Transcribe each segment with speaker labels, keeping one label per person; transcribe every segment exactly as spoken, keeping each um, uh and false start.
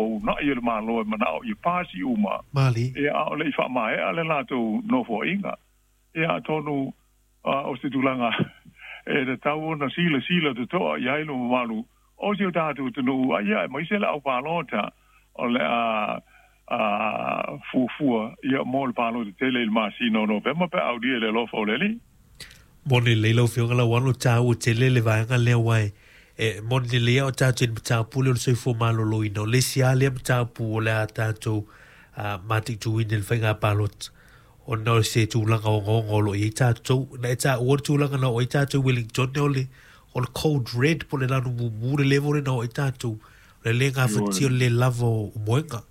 Speaker 1: o unaʻi e le Malo e manaʻo ia pasi uma.
Speaker 2: Mali.
Speaker 1: Ia a o leʻi faamaea le latou nofoaiga. Ia atonu o se tulaga e tatau ona silasila totoa i ai le mamalu o si o tatou atunuu, a ia aemaise le au palota o le a a fuafua ia mo le palota tele i le masina o Novema pe a aulia i le alofa o le Alii.
Speaker 2: Moni lelei lau Afioga Lauano, taua tele le vaega lea aua e moni lelei lava o tatou i le mataupu lea o le soifua maloloina. O le isi lava lea mataupu o le a tatou mataituina i le faiga palota ona o se tulaga ogaoga o lo o i ai tatou. Na e taua le tulaga na oo ai tatou i Wellington o le, o le code red po o le lanu mumu le level lea na oo ai tatou, o le le gafatia o le le lava o moega.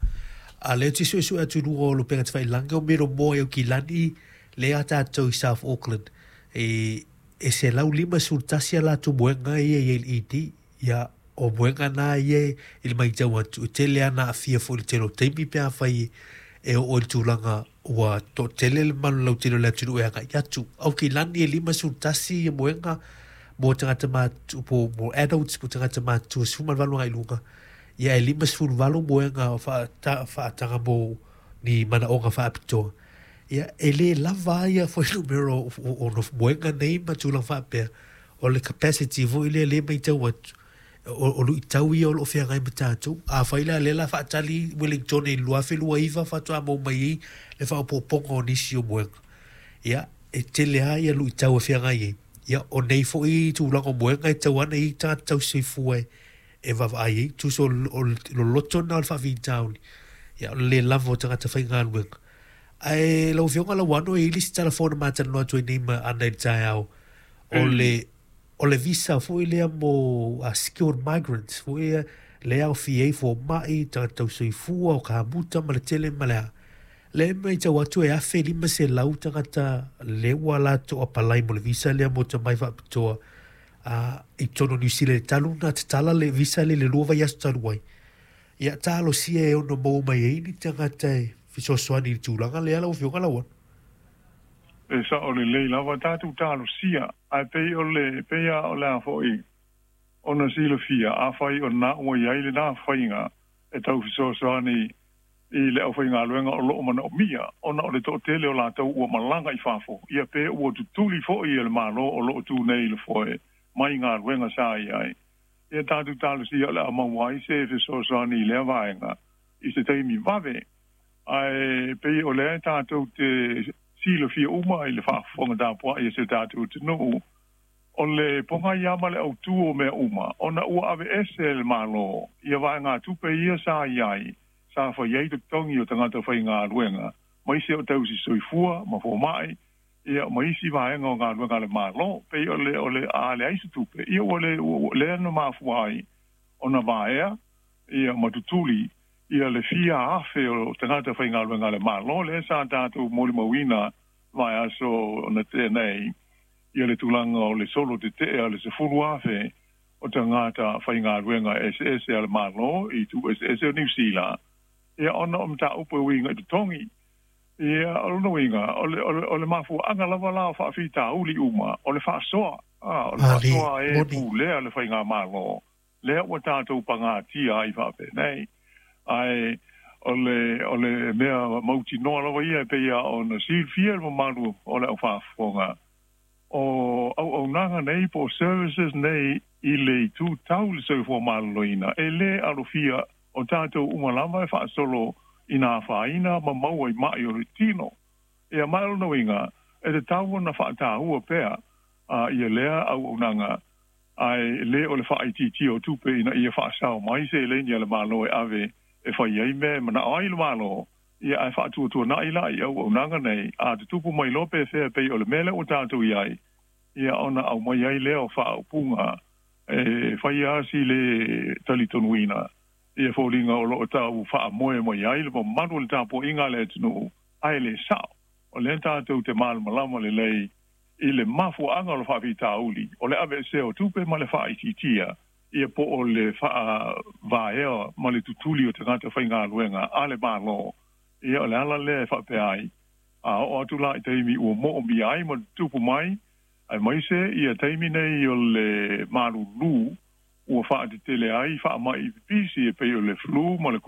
Speaker 2: A lea ou te suesue atu i luga o Lupega Tafailagi o Miromoa i Aukilani lea a tatou i South Auckland e e selau lima sefulu tasi a latou moega ia i ai i le E D. Ia o moega na ia i le matau atu e tele lava na aafia foi i le tele o taimi pe afai e oo i le tulaga ua toatele le mamalu lautele o le atunuu e agai atu. Aukilani e lima sefulu tasi ia moega mo tagata matutua po mo adults po tagata matutua sefulu ma le valu agai i luga. Ia e lima sefulu valu moega faataga mo ni manaoga faapitoa. Ia e le lava ia fuainumera o, o, o moega nei ma tulaga faapea. O le capacity foi lea le matau atu. O, o luitau ia o lo o feagai ma tatou. Afai la lea la faatali Wellington i le lua afe lua iva faatoa maua mai ai le faaopoopoga o nisi o moega. Ia e tele lava ia luitau e feagai ai. Ia o nei foi tulaga o moega e tau ana i tagata tausisoifua e e vaavaai ai, tusa o loloto lena o le faafitauli, ia o le le lava o tagata faigaluega. Ae lau Afioga Lauano, e i ai le isi tala fou na ma talanoa atu ai nei ma Ana i le taeao, o le, o le visa foi lea mo uh, skilled migrants foi lea, lea aofia ai fomai, tagata tausoifua, o kamuta ma le tele ma le a. Lea e matau atu e afe lima selau tagata lea ua latou apalai mo le visa lea mo tamai faapitoa a i totonu o Niu Sila i le talu ona tatala le visa lea i le lua vaiaso talu ai. Ia talosia e ono maua mai ai ni tagata e fesoasoani i le tulaga lea lau Afioga Lauano.
Speaker 1: E sao lelei lava tatou talosia, ae pei o le pei lava o le a foi ona silafia, afai o lena ua i ai lena faiga e tau fesoasoani i le aufaigaluega o lo o manaomia ona o le toatele o latou ua malaga i fafo, ia pe ua tutuli foi e le Malo o lo o tu nei i le foe mai galuega sa i ai. Ia tatou talosia o le a maua ai se fesoasoani i lea vaega i se taimi vave, ae pei o lea tatou te silafia uma i le faafofoga tapuai a si o tatou atunuu, o le pogai lava ma le autū o mea uma, ona ua aveese e le Malo ia vaegatupe ia sa i ai, sa fai ai totogi o tagata faigaluega, ma isi o tausi soifua ma fomai, ia ma isi vaega o galuega a le Malo. Pei o le, o le a leai se tupe, ia ua le, ua lea na mafua ai ona vaea ia ma tutuli ia le fia afe o tagata faigaluega a le Malo, lea sa tatou molimauina vaiaso na tea nei, ia le tulaga o le solo tetee a le sefulu afe o tagata faigaluega eseese a le Malo i itu eseese o Niu Sila, ia ona o mataupu e uiga i totogi. Ia, o lona uiga, o le, o le, o le mafuaaga lava la o faafitauli uma, o le faasoa, a, o le
Speaker 2: Mali,
Speaker 1: faasoa e
Speaker 2: moni.
Speaker 1: pulea le faigamalo, lea ua tatou pagatia ai faapenei. Ae o le, o le mea mautinoa lava ia e pei lava ona silafia e le mamalu o le aufaafofoga, o auaunaga nei po o services nei i le itu tau le soifua maloloina, e le alofia o tatou uma lava e faasolo ina afaina ma maua i maʻi o le tino. Ia ma o lona uiga, e tatau ona faataua pea a ia lea auaunaga, ae le o le faaitiitia o tupe ina ia faasao mai seleni a le Malo e ave e fai ai mea e manao ai le Malo, ia ae faatuatuanai la i auaunaga nei, a tutupu mai loa pe fea pei o le mea lea ua tatou i ai, ia ona aumai ai lea o faaupuga e fai lava si le talitonuina ia foliga o lo o tau faamoe mai ai le mamalu o le tapuaiga a le atunuu, ae le sao. O lea tatou te malamalama lelei i le mafuaaga o le faafitauli, o le aveesea o tupe ma le faaitiitia ia po o le faavaea ma le tutuli o tagata faigaluega a le Malo. Ia o le ala lea e faapea ai, a oo atu la i taimi ua moomia ai ma tutupu mai, aemaise ia taimi nei o le malulu ua faatetele ai faamai pipisi e pei o le flu ma le